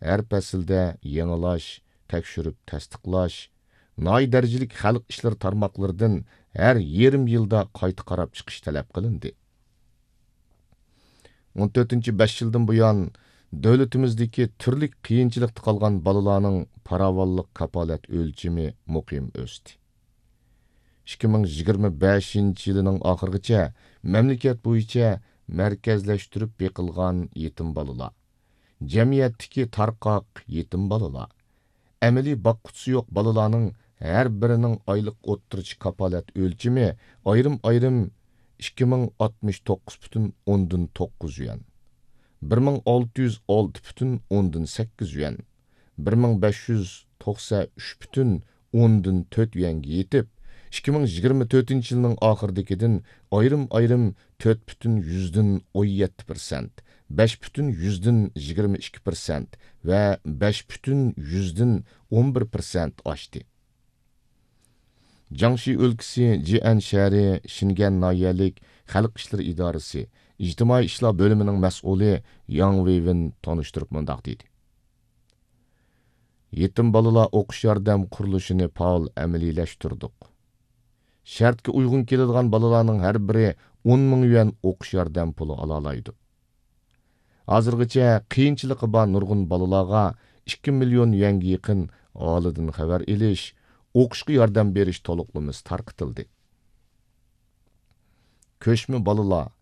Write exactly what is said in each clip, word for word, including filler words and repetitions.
ھەر پەسىلدە يېڭىلاش، تەكشۈرۈپ تەستىقلاش، ناھىيە دەرىجىلىك خەلق ئىشلىرى تارماقلىرىدىن ھەر يېرىم يىلدا قايتا قاراپ چىقىش تەلەپ قىلىندى. ئون تۆتىنچى بەش يىلدىن بۇيان، دۆلىتىمىزدىكى تۈرلۈك قىيىنچىلىقتا قالغان بالىلارنىڭ پاراۋانلىق كاپالەت ئۆلچىمى مۇقىم ئۆستى. ئىككى مىڭ يىگىرمە بەشىنچى يىلىنىڭ ئاخىرىغىچە مەملىكەت بويىچە مەركەزلەشتۈرۈپ بېقىلغان يېتىم بالىلار، جەمئىيەتتىكى تارقاق يېتىم بالىلار، ئەمەلىي باققۇچىسى يوق بالىلارنىڭ ھەر بىرىنىڭ ئايلىق ئوتتۇرىچە كاپالەت ئۆلچىمى ئايرىم-ئايرىم ئىككى مىڭ ئاتمىش توققۇز پۈتۈن ئوندىن توققۇز يۈەن، بىر مىڭ ئالتە يۈز ئالتە پۈتۈن ئوندىن سەككىز يۈەن، بىر مىڭ بەش يۈز توقسەن ئۈچ پۈتۈن ئوندىن تۆت يۈەنگە يېتىپ، ئىككى مىڭ يىگىرمە تۆتىنچى يىلنىڭ ئاخىرىدىكىدىن ئايرىم-ئايرىم تۆت پۈتۈن يۈزدىن ئون يەتتە پىرسەنت، بەش پۈتۈن يۈزدىن يىگىرمە ئىككى پىرسەنت ۋە بەش پۈتۈن يۈزدىن ئون بىر پىرسەنت ئاشتى. جياڭشى ئۆلكىسى جيەن شەھىرى شىنگەن ناھىيەلىك خەلق ئىشلىرى ئىدارىسى ئىجتىمائىي ئىشلار بۆلۈمىنىڭ مەسئۇلى ياڭ ۋېيۋېن تونۇشتۇرۇپ مۇنداق دېدى: يېتىم بالىلار ئوقۇش ياردەم قۇرۇلۇشىنى پائال ئەمەلىيلەشتۈردۇق. شەرتكە ئۇيغۇن كېلىدىغان بالىلارنىڭ ھەر بىرى ئون مىڭ يۈەن ئوقۇش ياردەم پۇلى ئالالايدۇ. ھازىرغىچە قىيىنچىلىقى بار نۇرغۇن بالىلارغا ئىككى مىليون يۈەنگە يېقىن ئاھالىدىن خەۋەر ئېلىش، ئوقۇشقا ياردەم بېرىش تولۇقلىمىسى تارقىتىلدى. كۆچمە بالىلار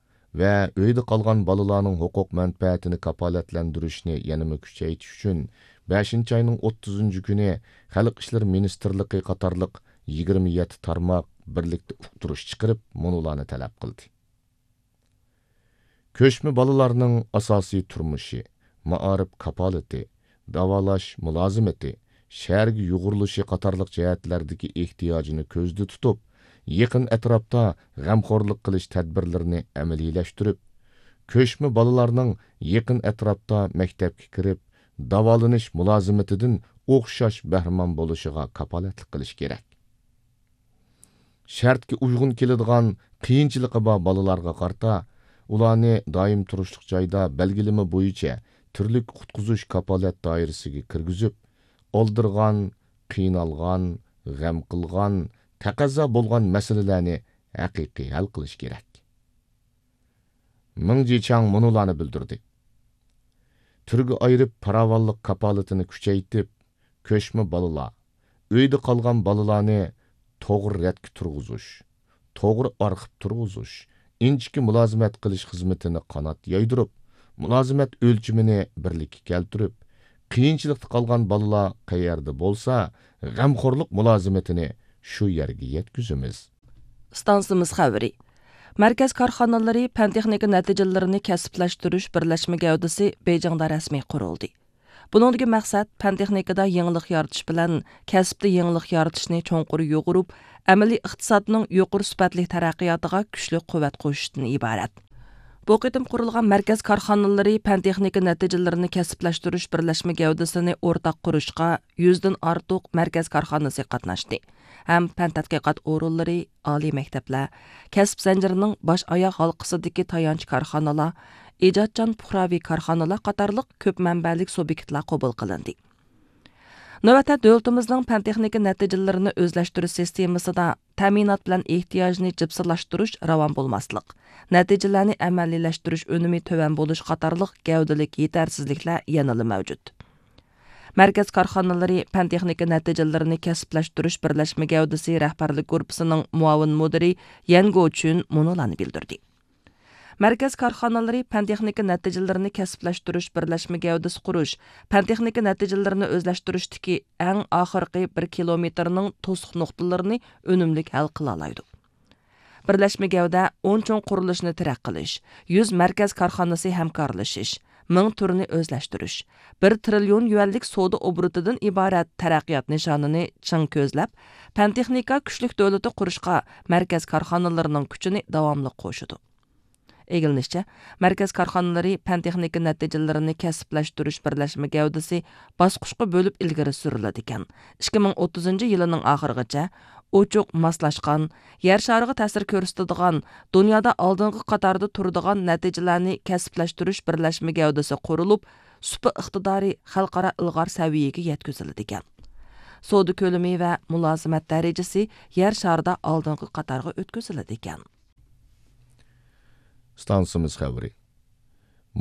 ۋە ئۆيدە قالغان بالىلارنىڭ ھوقۇق مەنپەئەتىنى كاپالەتلەندۈرۈشنى يەنىمۇ كۈچەيتىش ئۈچۈن، بەشىنچى ئاينىڭ ئوتتۇزىنچى كۈنى خەلق ئىشلىرى مىنىستىرلىقى قاتارلىق يىگىرمە يەتتە تارماق بىرلىكتە ئۇقتۇرۇش چىقىرىپ، مۇنۇلارنى تەلەپ قىلدى. كۆچمە بالىلارنىڭ ئاساسىي تۇرمۇشى، مائارىپ كاپالىتى، داۋالاش مۇلازىمىتى، شەھەرگە يۇغۇرۇلۇشى قاتارلىق جەھەتلەردىكى ئېھتىياجىنى كۆزدە تۇتۇپ، يېقىن ئەتراپتا غەمخورلۇق قىلىش تەدبىرلىرىنى ئەمەلىيلەشتۈرۈپ، كۆچمە بالىلارنىڭ يېقىن ئەتراپتا مەكتەپكە كىرىپ، داۋالىنىش مۇلازىمىتىدىن ئوخشاش بەھرىمەن بولۇشىغا كاپالەتلىك قىلىش كېرەك. شەرتكە ئۇيغۇن كېلىدىغان قىيىنچىلىقى بار بالىلارغا قارىتا، ئۇلارنى دائىم تۇرۇشلۇق جايدا بەلگىلىمە بويىچە تۈرلۈك قۇتقۇزۇش كاپالەت دائىرىسىگە كىرگۈزۈپ، ئالدىرىغان، قىينالغان، غەم قىلغان، تەقەززا بولغان مەسىلىلەرنى ھەقىقىي ھەل قىلىش كېرەك. مېڭ جىچاڭ مۇنۇلارنى بىلدۈردى: تۈرگە ئايرىپ پاراۋانلىق كاپالىتىنى كۈچەيتىپ، كۆچمە بالىلار، ئۆيدە قالغان بالىلارنى توغرا رەتكە تۇرغۇزۇش، توغرا ئارخىپ تۇرغۇزۇش، ئىنچىكە مۇلازىمەت قىلىش خىزمىتىنى قانات يايدۇرۇپ، مۇلازىمەت ئۆلچىمىنى بىرلىككە كەلتۈرۈپ، قىيىنچىلىقتا قالغان بالىلار قەيەردە بولسا، غەمخورلۇق مۇلازىمىتىنى شۇ يەرگە يەتكۈزىمىز. ئىستانسىمىز خەۋىرى. مەركەز كارخانىلىرى پەن تېخنىكا نەتىجىلىرىنى كەسىپلەشتۈرۈش بىرلەشمە گەۋدىسى بېيجىڭدا رەسمىي قۇرۇلدى. بۇنىڭدىكى مەقسەت پەن تېخنىكىدا يېڭىلىق يارىتىش بىلەن كەسىپتە يېڭىلىق يارىتىشنى چوڭقۇر يۇغۇرۇپ، ئەمەلىي ئىقتىسادنىڭ يۇقىرى سۈپەتلىك تەرەققىياتىغا كۈچلۈك قۇۋۋەت قوشۇشتىن ئىبارەت. بۇ قېتىم قۇرۇلغان مەركەز كارخانىلىرى پەن تېخنىكا نەتىجىلىرىنى كەسىپلەشتۈرۈش بىرلەشمە گەۋدىسىنى ئورتاق قۇرۇشقا يۈزدىن ئارتۇق مەركەز كارخانىسى قاتناشتى ھەم پەن تەتقىقات ئورۇنلىرى، ئالىي مەكتەپلەر، كەسىپ زەنجىرىنىڭ باش ئاياغ ھالقىسىدىكى تايانچ كارخانىلار، ئىجادچان پۇقراۋى كارخانىلار قاتارلىق كۆپ مەنبەلىك سۇبيېكتلار قوبۇل قىلىندى. نۆۋەتتە دۆلىتىمىزنىڭ پەن تېخنىكا نەتىجىلىرىنى ئۆزلەشتۈرۈش سىستېمىسىدا تەمىنات بىلەن ئېھتىياجنى جىپسىلاشتۇرۇش راۋان بولماسلىق، نەتىجىلەرنى ئەمەلىيلەشتۈرۈش ئۈنۈمى تۆۋەن بولۇش قاتارلىق گەۋدىلىك يېتەرسىزلىكلەر يەنىلا مەۋجۇت. مەركەز كارخانىلىرى پەن تېخنىكا نەتىجىلىرىنى كەسىپلەشتۈرۈش بىرلەشمە گەۋدىسى رەھبەرلىك گۇرۇپپىسىنىڭ مۇئاۋىن مۇدىرى يەن گوچۈن مۇنۇلارنى بىلدۈردى. مەركەز كارخانىلىرى پەن تېخنىكا نەتىجىلىرىنى كەسىپلەشتۈرۈش بىرلەشمە گەۋدىسى قۇرۇش، پەن تېخنىكا نەتىجىلىرىنى ئۆزلەشتۈرۈشتىكى ئەڭ ئاخىرقى بىر كىلومېتىرنىڭ توسۇق نۇقتىلىرىنى ئۈنۈملۈك ھەل قىلالايدۇ. بىرلەشمە گەۋدە ئون چوڭ قۇرۇلۇشنى تەرەققىي قىلىش، يۈز مەركەز كارخانىسى ھەمكارلىشىش، مىڭ تۈرنى ئۆزلەشتۈرۈش، بىر تىرىليون يۈەنلىك سودا ئوبوروتىدىن ئىبارەت تەرەققىيات نىشانىنى چىڭ كۆزلەپ، پەن تېخنىكا كۈچلۈك دۆلىتى قۇرۇشقا مەركەز كارخانىلىرىنىڭ كۈچىنى داۋاملىق قوشىدۇ. ئىگىلىنىشىچە، مەركەز كارخانىلىرى پەن تېخنىكا نەتىجىلىرىنى كەسىپلەشتۈرۈش بىرلەشمە گەۋدىسى باسقۇچقا بۆلۈپ ئىلگىرى سۈرۈلىدىكەن. ئىككى مىڭ ئوتتۇزىنچى يىلىنىڭ ئاخىرىغىچە ئوچۇق، ماسلاشقان، يەر شارىغا تەسىر كۆرسىتىدىغان، دۇنيادا ئالدىنقى قاتاردا تۇرىدىغان نەتىجىلەرنى كەسىپلەشتۈرۈش بىرلەشمە گەۋدىسى قۇرۇلۇپ، سۇپا ئىقتىدارى خەلقئارا ئىلغار سەۋىيەگە يەتكۈزۈلىدىكەن. سودا كۆلىمى ۋە مۇلازىمەت دەرىجىسى يەر شارىدا ئالدىنقى قاتارغا ئۆتكۈزۈلىدىكەن. ئىستانسىمىز خەۋىرى.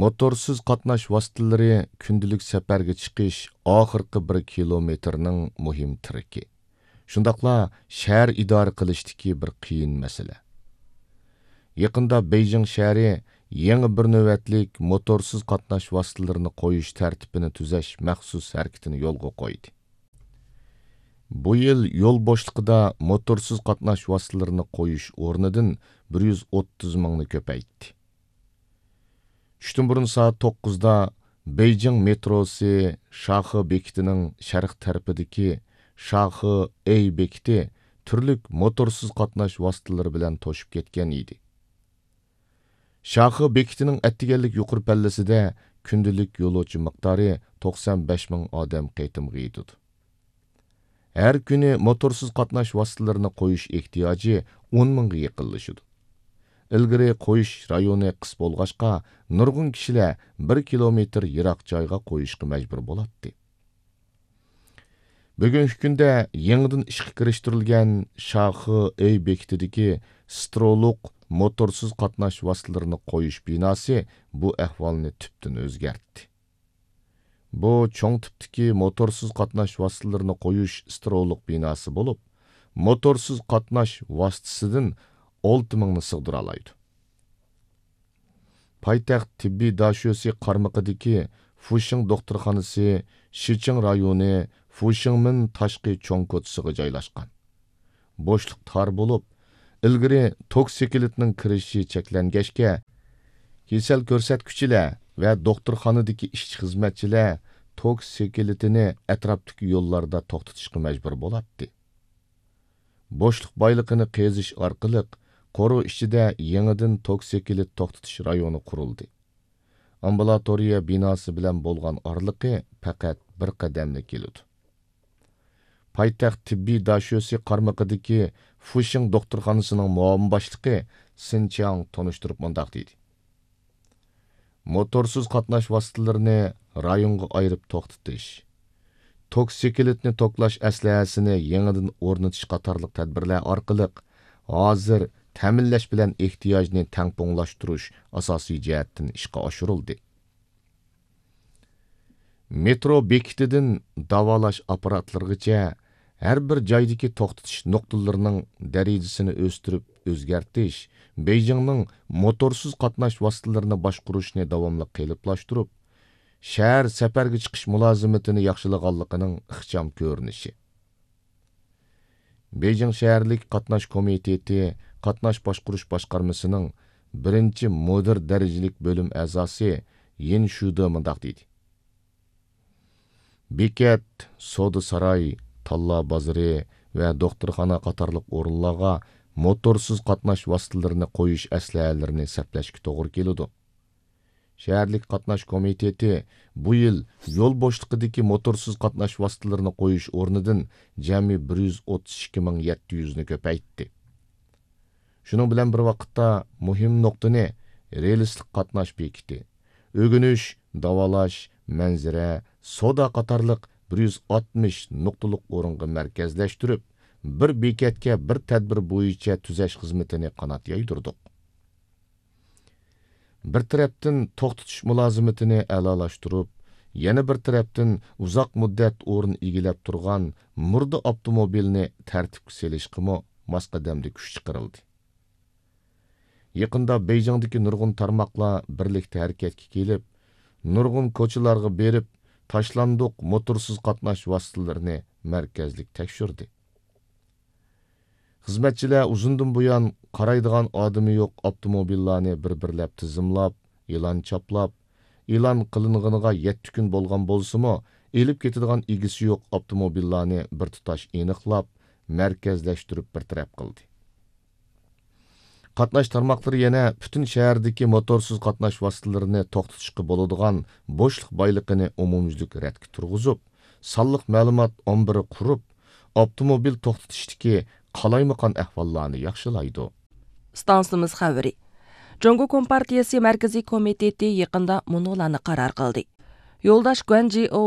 موتورسىز قاتناش ۋاسىتىلىرى كۈندىلىك سەپەرگە چىقىش ئاخىرقى بىر كىلومېتىرنىڭ مۇھىم تىرىكى. شۇنداقلا شەھەر ئىدارە قىلىشتىكى بىر قىيىن مەسىلە. يېقىندا بېيجىڭ شەھىرى يېڭى بىر نۆۋەتلىك موتورسىز قاتناش ۋاسىتىلىرىنى قويۇش تەرتىپىنى تۈزەش مەخسۇس ھەرىكىتىنى يولغا قويدى. بۇ يىل يول بوشلۇقىدا موتورسىز قاتناش ۋاسىتىلىرىنى قويۇش ئورنىدىن بىر يۈز ئوتتۇز مىڭنى كۆپەيتتى. چۈشتىن بۇرۇن سائەت توققۇزدا بېيجىڭ مېتروسى شاخې بېكىتىنىڭ شەرق تەرىپىدىكى شاخې ئېي بېكىتى تۈرلۈك موتورسىز قاتناش ۋاسىتىلىرى بىلەن توشۇپ كەتكەن ئىدى. شاخې بېكىتىنىڭ ئەتىگەنلىك يۇقىرى پەللىسىدە كۈندىلىك يولۇچى مىقدارى توقسان بەش مىڭ ئادەم قېتىمغا يېتىدۇ. ھەر كۈنى موتورسىز قاتناش ۋاسىتىلىرىنى قويۇش ئېھتىياجى ئون مىڭغا يېقىنلىشىدۇ. ئىلگىرى قويۇش رايونى قىس بولغاچقا، نۇرغۇن كىشىلەر بىر كىلومېتىر يىراق جايغا قويۇشقا مەجبۇر بولاتتى. بۈگۈنكى كۈندە يېڭىدىن ئىشقا كىرىشتۈرۈلگەن شاخې ئېي بېكىتىدىكى سترولۇق موتورسىز قاتناش ۋاسىتىلىرىنى قويۇش بىناسى بۇ ئەھۋالنى تۈپتىن ئۆزگەرتتى. بۇ چوڭ تىپتىكى موتورسىز قاتناش ۋاسىتىلىرىنى قويۇش سترولۇق بىناسى بولۇپ، موتورسىز قاتناش ۋاسىتىسىدىن ئالتە مىڭنى سىغدۇرالايدۇ. پايتەخت تېببىي داشۆسى قارمىقىدىكى فۇشىڭ دوختۇرخانىسى شىچىڭ رايونى فۇشىڭمىن تاشقى چوڭ كوچىسىغا جايلاشقان. بوشلۇق تار بولۇپ، ئىلگىرى توك سېكىلىتىنىڭ كىرىشى چەكلەنگەچكە، كېسەل كۆرسەتكۈچىلەر ۋە دوختۇرخانىدىكى ئىشچى-خىزمەتچىلەر توك سېكىلىتىنى ئەتراپتىكى يوللاردا توختىتىشقا مەجبۇر بولاتتى. بوشلۇق بايلىقىنى قېزىش ئارقىلىق قورۇ ئىچىدە يېڭىدىن توك سېكىلىت توختىتىش رايونى قۇرۇلدى. ئامبۇلاتورىيە بىناسى بىلەن بولغان ئارىلىقى پەقەت بىر قەدەملا كېلىدۇ. پايتەخت تېببىي داشۆسى قارمىقىدىكى فۇشىڭ دوختۇرخانىسىنىڭ مۇئاۋىن باشلىقى سىن چياڭ تونۇشتۇرۇپ مۇنداق دېدى: موتورسىز قاتناش ۋاسىتىلىرىنى رايونغا ئايرىپ توختىتىش، توك سېكىلىتنى توكلاش ئەسلىھەسىنى يېڭىدىن ئورنىتىش قاتارلىق تەدبىرلەر ئارقىلىق ھازىر تەمىنلەش بىلەن ئېھتىياجنى تەڭپۇڭلاشتۇرۇش ئاساسىي جەھەتتىن ئىشقا ئاشۇرۇلدى. مېترو بېكىتىدىن داۋالاش ئاپپاراتلىرىغىچە ھەر بىر جايدىكى توختىتىش نۇقتىلىرىنىڭ دەرىجىسىنى ئۆستۈرۈپ ئۆزگەرتىش بېيجىڭنىڭ موتورسىز قاتناش ۋاسىتىلىرىنى باشقۇرۇشنى داۋاملىق قېلىپلاشتۇرۇپ، شەھەر سەپەرگە چىقىش مۇلازىمىتىنى ياخشىلىغانلىقىنىڭ ئىخچام كۆرۈنۈشى. بېيجىڭ شەھەرلىك قاتناش كومىتېتى قاتناش باشقۇرۇش باشقارمىسىنىڭ بىرىنچى مۇدىر دەرىجىلىك بۆلۈم ئەزاسى يىن شۈدې مۇنداق دېدى: بېكەت، سودا ساراي، تاللا بازىرى ۋە دوختۇرخانا قاتارلىق ئورۇنلارغا موتورسىز قاتناش ۋاسىتىلىرىنى قويۇش ئەسلىھەلىرىنى سەپلەشكە توغرا كېلىدۇ. شەھەرلىك قاتناش كومىتېتى بۇ يىل يول بوشلۇقىدىكى موتورسىز قاتناش ۋاسىتىلىرىنى قويۇش ئورنىدىن جەمئىي بىر يۈز ئوتتۇز ئىككى مىڭ يەتتە يۈزنى كۆپەيتتى. شۇنىڭ بىلەن بىر ۋاقىتتا، مۇھىم نۇقتىنى رېلىسلىق قاتناش بېكىتى، ئۆگىنىش، داۋالاش، مەنزىرە، سودا قاتارلىق بىر يۈز ئاتمىش نۇقتىلىق ئورۇنغا مەركەزلەشتۈرۈپ، بىر بېكەتكە بىر تەدبىر بويىچە تۈزەش خىزمىتىنى قانات يايدۇردۇق. بىر تەرەپتىن توختىتىش مۇلازىمىتىنى ئەلالاشتۇرۇپ، يەنە بىر تەرەپتىن ئۇزاق مۇددەت ئورۇن ئىگىلەپ تۇرغان مۇردە ئاپتوموبىلنى تەرتىپكە سېلىشقىمۇ ماس قەدەمدە كۈچ چىقىرىلدى. يېقىندا بېيجىڭدىكى نۇرغۇن تارماقلار بىرلىكتە ھەرىكەتكە كېلىپ، نۇرغۇن كوچىلارغا بېرىپ، تاشلاندۇق موتورسىز قاتناش ۋاسىتىلىرىنى مەركەزلىك تەكشۈردى. خىزمەتچىلەر ئۇزۇندىن بۇيان قارايدىغان ئادىمى يوق ئاپتوموبىللارنى بىر-بىرلەپ تىزىملاپ، ئېلان چاپلاپ، ئېلان قىلىنغىنىغا يەتتە كۈن بولغان بولسىمۇ، ئېلىپ كېتىدىغان ئىگىسى يوق ئاپتوموبىللارنى بىر تۇتاش ئېنىقلاپ، مەركەزلەشتۈرۈپ بىر تەرەپ قىلدى. قاتناش تارماقلىرى يەنە پۈتۈن شەھەردىكى موتورسىز قاتناش ۋاسىتىلىرىنى توختىتىشقا بولىدىغان بوشلۇق بايلىقىنى ئومۇميۈزلۈك رەتكە تۇرغۇزۇپ، سانلىق مەلۇمات ئامبىرى قۇرۇپ، ئاپتوموبىل توختىتىشتىكى قالايمىقان ئەھۋاللارنى ياخشىلايدۇ. ئىستانسىمىز خەۋىرى. جۇڭگو كومپارتىيىسى مەركىزىي كومىتېتى يېقىندا مۇنۇلارنى قارار قىلدى. يولداش گۇەن جىئو